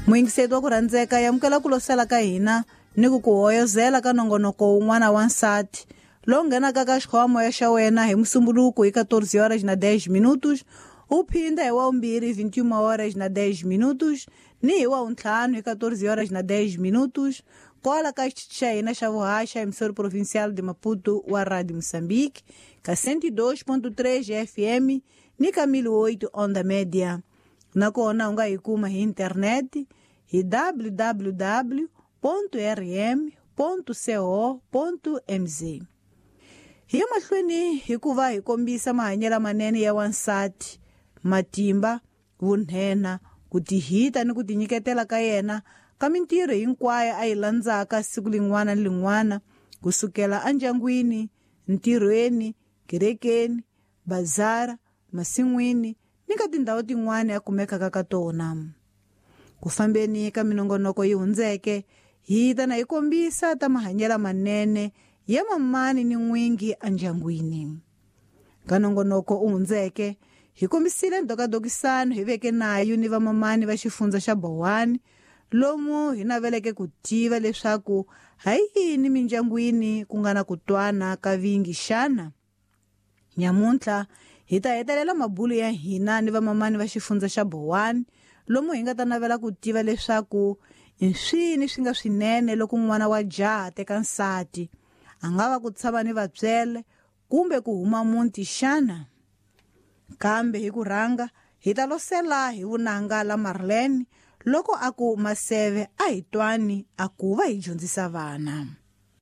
Muyingiseti wa ku rhandzeka, yamukela ku losela ka hina ni ku ku hoyozela ka nongonoko wun'wana wa nsati lowu nghenaka ka xikhoma xa wena hi Musumbuluku hi 14 horas na 10 minutos, u phinda hi wa vumbirhi 21 horas na 10 minutos, ni hi wa vuntlhanu hi 14 horas na 10 minutos, kwala ka xitichi xa hina xa vuhaxa, emissora provincial de Maputo wa Radio Moçambique, ka 102.3 FM ni ka 1008 onda média. Nakona u nga yi kuma hi internet hi www rm co mz. Hi ya mahlweni hikuva hi kombisa mahanyelo manene ya wansati, matimba, vunhena, ku tihita ni ku tinyiketela ka yena ka mintirho hinkwayo a yi landzaka siku lin'wana ni lin'wana, kusukela endyangwini, ntirhweni, kerekeni, bazara, masin'wini ni ka tindhawu tin'wana a kumekaka ka tona. Ku fambeni ka minongonoko yi hundzeke, hi ta na hi kombisa ta mahanyelo manene ya mamani ni n'wingi endyangwini. Ka nongonoko u hundzeke, hi kombisile ndokadokisano hi veke nayo ni vamamani va xifundza xa Bowani, lomu hi naveleke ku tiva leswaku ha yini mindyangwini ku nga na ku twana ka vingi xana. Nyamuntlha hi ta hetelela mabulo ya hina ni vamamani va xifundza xa Bowani, lomu hi nga ta navela ku tiva leswaku i swini swi nga swinene loko n'wana wa jaha teka nsati, a nga va ku tshama ni vatswele kumbe ku huma muti xana. Kambe hi ku rhanga hi ta losela hi vunanga la Marlene loko a ku maseve a hi twani a ku va hi dyondzisa vana.